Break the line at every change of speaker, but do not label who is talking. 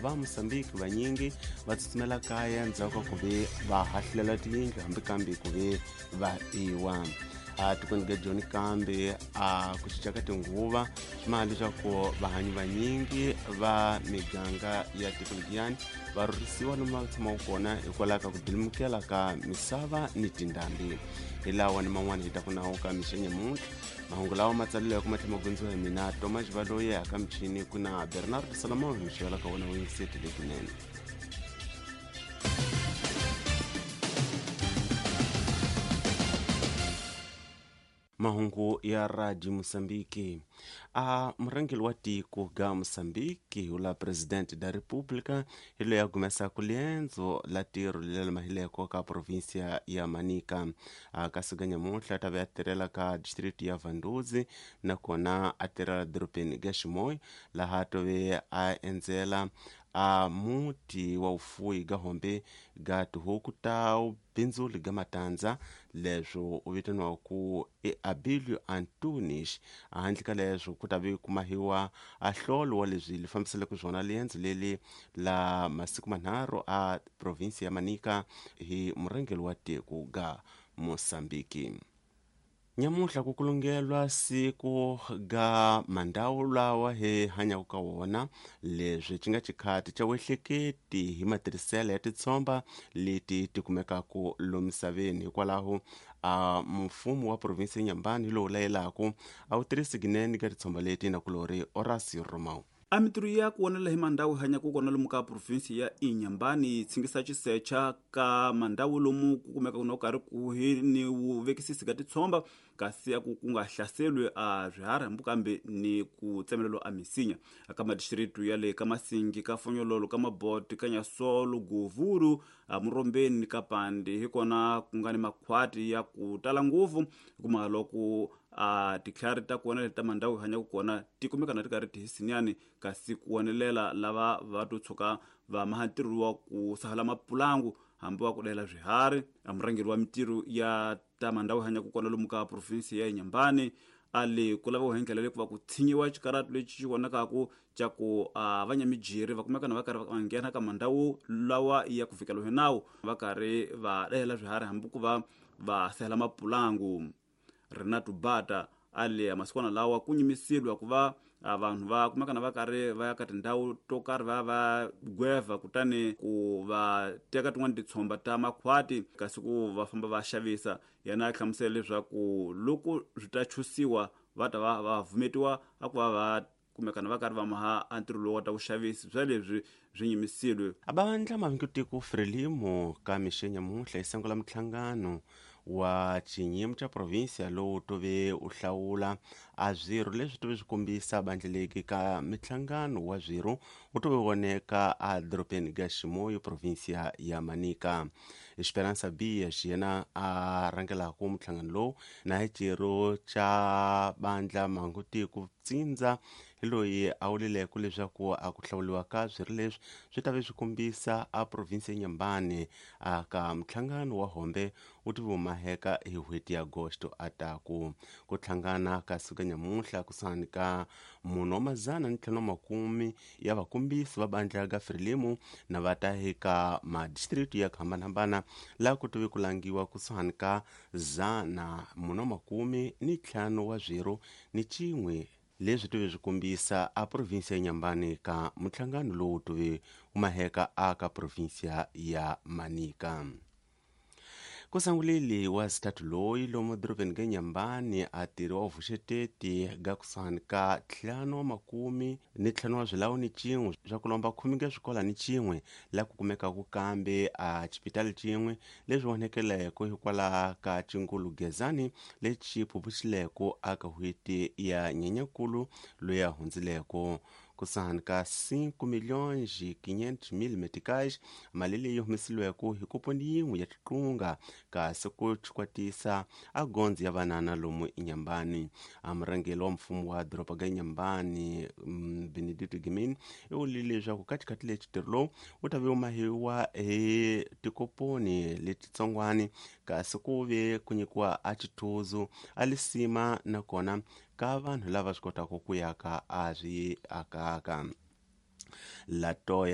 va Mosambiki vanyingi va tsutsumela kaya ndzhaku ka ku ve va hahlulela tiyindlu hambi kambe ku ve va biwa. A tikweni ga Joni kambe a ku cinca ka tinguva swi maha leswaku vahanyi vanyingi va miganga ya tiko lediyani va rhurhisiwa lomu va tshamaka kona hikwalaho ka ku bilimukela ka misava ni tindhambi. Hi lawa ni man'wana hi ta ku nawu ka mixo nyamuntlha. Mahungu lawa ma tsaleleke ma tlhela ma gondziwa hi mina Thomas Valoyi, aka michini ku na Bernard Solomon hi mixo ka wona wuyingiseti letinene. Mahungu ya Radio Mosambiki. A murhangeri wa tiko ga Mosambiki ula presidente da República hi loyi a humesaka liendzo la ntirho leri mahileko ka provinsia ya Manica. A kasi ga nyamuntlha ta ve a tirhela ka district ya Vanduzi nakona a tirhela dorobeni ga Ximoy, laha tove a endzela a muti wa vufuwi ga hombe ga tihuku ta bindzuli ga matandza, leswo u vitaniwa ku i Abilio Antunes. Handle ka leswo ku ta ve kumahiwa a hlolo wa leswi li fambiseleke swona liendzo leli la masiku manharhu a provinsi ya Manica hi murhangeri wa tiko ga Mosambiki. Nyamuntlha ku kulungelwa siku ga mandawu lawa hi hanyaka ka wona, leswi xi nga xikhati xa wehleketi hi matirhiselo ya titshomba leti ti kumekaka lomu misaveni. Hikwalaho a mfumo wa provinsi ya Nyambani hi lowu layelaka a wu tirhisi kunene ka titshomba leti nakulori Horacio Romão.
A mintirho ya ku vonela hi mandawu hi hanyaka kona lomu ka provinsi ya Inhambane yi tshingisa xisecha ka mandawu lomu ku kumeka no karhi kuhi ni vuvekisisi ka titshomba, kasi a ku ku nga hlaseriwi a swiharhi hambi kambe ni ku tsemelelo a misinya. Ka madistritu ya le ka Masingi, ka Fonyololo, ka Maboti, ka Nyasolo, Govuru, a Murombeni ka Pandi hi kona ku nga ni makhwati ya ku tala ngopfu, hikuva loko a titlhari ta kona leti ta mandhawu hi hanyaka kona ti kumeka na ti karhi ti hisinyani, kasi ku wonelela lava va to tshuka va maha ntirho wa ku sahala mapulangu hambi wa ku dayela swiharhi. A murhangeri wa mintirho ya ta mandhawu hi hanyaka kona lomu ka provinsi ya Inhambane a le ku laviwa hi ndlela leyi ku va ku tshinyiwa xikaratu lexi xi vonakaku xa ku a vanyamijiri va kumeka na va karhi va nghena ka mandhawu lawa ya ku fikela hi nawu va karhi va dayela swiharhi hambi ku va va sahela mapulangu. Renato Bata a le masikwana lawa ku nyimisiliwa ku va vanhu va kumeka na va karhi va ya ka tindhawu to karhi va va gweva, kutani ku va teka tin'wani titshomba ta makhwati kasi ku va famba va xavisa. Yena a hlamusela leswaku loko swi ta chusiwa va ta va va vumetiwa a ku va va kumekana va karhi va maha a ntirho lowu wa ta vuxavisi bya leswi swi nyimisiliwe.
A vandla mavingutiko Frelimo ka mixo nyamuntlha yi sungula minhlangano wa xinyimo xa provinsia lowu tove u hlawula a swirho leswi tove swi kombisa bandleleki ka minhlangano wa swirho wu tove voneka a dorobeni ga Ximoyo provinsia ya Manica. Esperança Bias yena a rhangelaka minhlangano lowu na hi xirho xa bandla mangutiko tsindza hi loyi a wulileke leswaku a ku hlawuriwa ka swirho leswi swi ta ve swi kombisa a provinsi ya Nyambani a ka minhlangano wa hombe wu ti vumaheka hi n'hweti ya Agosto a ta ku ku hlangana ka suka nyamuntlha kusuhani ka 450 ya vakombisi va bandla ga Frelimo na va ta eka madistrict ya ku hambanahambana laha ku tive ku langiwa kusuhani ka 415 wa swirho ni cin'we leswi tive swi kombisa a provinsi ya Nyambani ka minhlangano lowu tive wu maheka aka provinsia ya Manica. Ku sanguleli wa xitatu loyi lomu dorobeni ga Nyambani a tirhi wa vuxeteti ga kusuhani ka 55 wa swilawu ni cin'we swa ku lomba 10 ga swikola ni cin'we laha ku kumekaka kambe a xipitali cin'we leswi vonekeleke hikwalaho ka cingulu Gezani lexi phuphuxileke aka n'hweti ya Nyenyankulu loyi a hundzileke. Kusuhani ka 5,500,000 meticais, mali leyi humesiliweke hi kuponi yin'we ya tiqunga kasi ku chikwatisa a gondzo ya vanana lomu Inhambane. A murhangeri wa mfumo wa doroba ga Inhambane Benedito Gimin i vulile leswaku ka xikhati lexi ntirho lowu wu ta ve wu mahiwa hi tikoponi letitsongwani kasi ku ve ku nyikiwa a xithuzu a lisima nakona ka vanhu lava swi kotaka ku ya ka a swi akaka. Latoya